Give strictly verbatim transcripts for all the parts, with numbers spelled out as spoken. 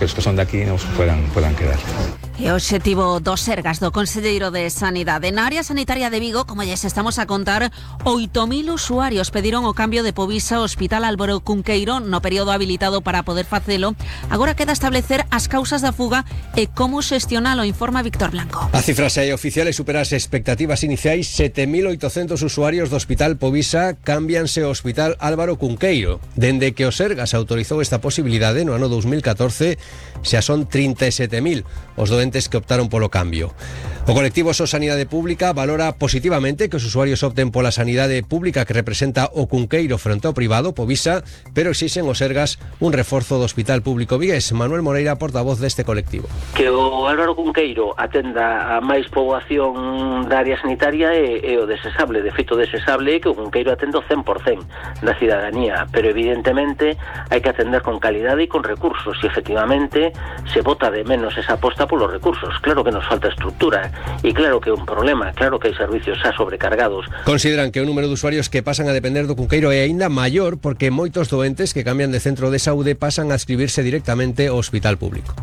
que os que son de aquí nos puedan, puedan quedar. E o obxectivo do Sergas do Conselleiro de Sanidade. Na área sanitaria de Vigo, como lles estamos a contar, oito mil usuarios pediron o cambio de Povisa ao Hospital Álvaro Cunqueiro no período habilitado para poder facelo. Agora queda establecer as causas da fuga e como xestionalo, informa Víctor Blanco. A cifra xa é oficial e supera as expectativas iniciais. sete mil oitocentos usuarios do Hospital Povisa cámbianse ao Hospital Álvaro Cunqueiro. Dende que o Sergas autorizou esta posibilidade no ano dos mil catorce, xa son trinta e sete mil os doentes que optaron polo cambio. O colectivo So Sanidade Pública valora positivamente que os usuarios opten pola sanidade pública que representa o Cunqueiro frente ao privado, Povisa, pero exixen os Sergas un reforzo do Hospital Público vigués. Manuel Moreira, portavoz deste colectivo. Que o Álvaro Cunqueiro atenda a máis poboación da área sanitaria é, é o desexable. De feito, desexable é que o Cunqueiro atenda o cen por cen da cidadanía, pero evidentemente hai que atender con calidade e con recursos, e efectivamente se bota de menos esa aposta polos recursos. Claro que nos falta estructura e claro que é un problema, claro que hai servicios xa sobrecargados. Consideran que o número de usuarios que pasan a depender do Cunqueiro é aínda maior porque moitos doentes que cambian de centro de saúde pasan a inscribirse directamente ao hospital público.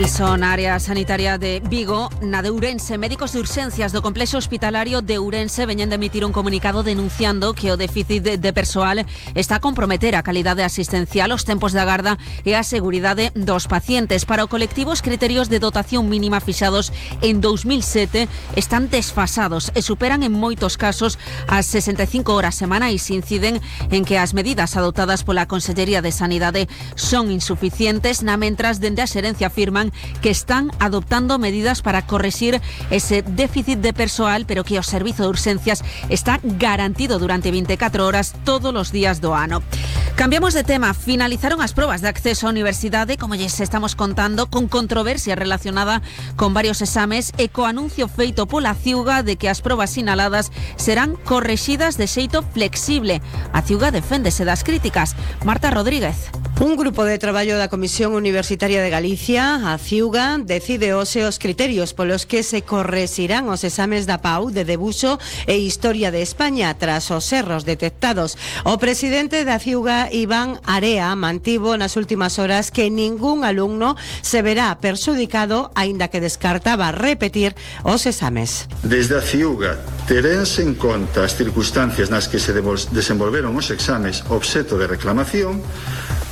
E son área sanitaria de Vigo, na de Ourense. Médicos de urxencias do complexo hospitalario de Ourense veñen de emitir un comunicado denunciando que o déficit de, de persoal está a comprometer a calidade asistencial, os tempos de agarda e a seguridade dos pacientes. Para o colectivo, os criterios de dotación mínima fixados en dous mil sete están desfasados e superan en moitos casos as sesenta e cinco horas semanais. Inciden en que as medidas adoptadas pola Consellería de Sanidade son insuficientes, na mentras dende a xerencia afirman que están adoptando medidas para correxir ese déficit de persoal, pero que o servizo de urxencias está garantido durante vinte e catro horas todos os días do ano. Cambiamos de tema. Finalizaron as probas de acceso á universidade, como lles estamos contando, con controversia relacionada con varios exames e co anuncio feito pola Ciuga de que as probas sinaladas serán correxidas de xeito flexible. A Ciuga deféndese das críticas. Marta Rodríguez. Un grupo de traballo da Comisión Universitaria de Galicia, a Ciuga, decide hoxe os criterios polos que se correxirán os exames da P A U de debuxo e Historia de España tras os erros detectados. O presidente da Ciuga, Iván Area, mantivo nas últimas horas que ningún alumno se verá perxudicado, aínda que descartaba repetir os exames. Desde a Ciuga terense en conta as circunstancias nas que se desenvolveron os exames obxeto de reclamación,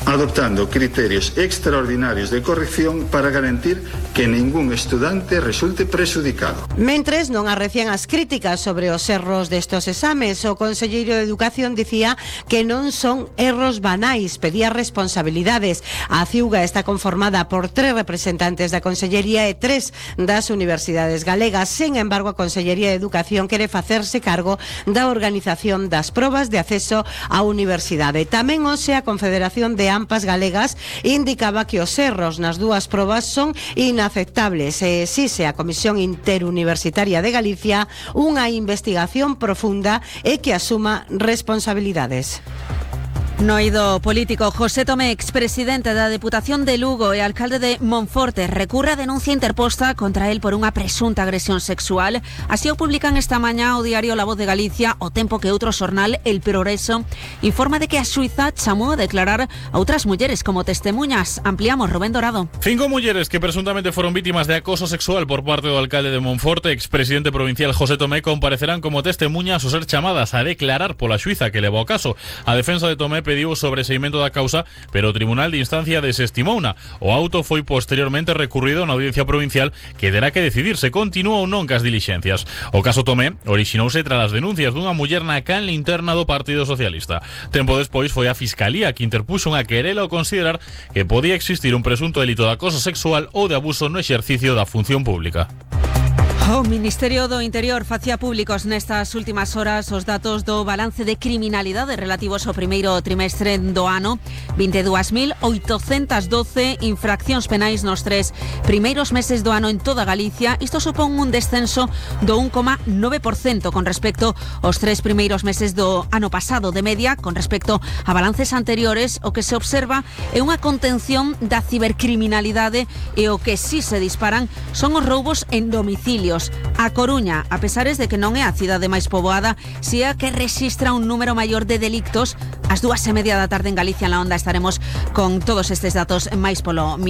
adoptando criterios extraordinarios de corrección para garantir que ningún estudante resulte prexudicado. Mentres non arrecían as críticas sobre os erros destos exames, o conselleiro de Educación dicía que non son erros banais, pedía responsabilidades. A Ciuga está conformada por tres representantes da Consellería e tres das universidades galegas. Sen embargo, a Consellería de Educación quere facerse cargo da organización das probas de acceso á universidade. Tamén hoxe a Confederación de AMPAs Galegas indicaba que os erros nas dúas probas son inaceptables e exixe a Comisión Interuniversitaria de Galicia unha investigación profunda e que asuma responsabilidades. No eido político, José Tomé, expresidente da Deputación de Lugo e alcalde de Monforte, recurre a denuncia interposta contra él por unha presunta agresión sexual. Así o publican esta mañá o diario La Voz de Galicia, o tempo que outro xornal, El Progreso, informa de que a xuíza chamou a declarar a outras mulleres como testemuñas. Ampliamos, Rubén Dorado. Cinco mulleres que presuntamente foron vítimas de acoso sexual por parte do alcalde de Monforte, expresidente provincial José Tomé, comparecerán como testemuñas ou ser chamadas a declarar pola xuíza que levou o caso. A defensa de Tomé pediu o sobreseimento da causa, pero o Tribunal de Instancia desestimouna. O auto foi posteriormente recurrido na Audiencia Provincial, que terá que decidir se continúa ou non cas dilixencias. O caso Tomé orixinouse tras as denuncias dunha muller na canle interna do Partido Socialista. Tempo despois foi a Fiscalía que interpuxo unha querela ao considerar que podía existir un presunto delito de acoso sexual ou de abuso no exercicio da función pública. O Ministerio do Interior facía públicos nestas últimas horas os datos do balance de criminalidade relativos ao primeiro trimestre do ano. vinte e dúas mil oitocentas doce infraccións penais nos tres primeiros meses do ano en toda Galicia. Isto supón un descenso do un coma nove por cento con respecto aos tres primeiros meses do ano pasado. De media, con respecto a balances anteriores, o que se observa é unha contención da cibercriminalidade e o que sí se disparan son os roubos en domicilios. detidos. A Coruña, a pesares de que non é a cidade máis poboada, si é a que rexistra un número maior de delictos. Ás dúas e media da tarde en Galicia, en la Onda, estaremos con todos estes datos máis polo mío.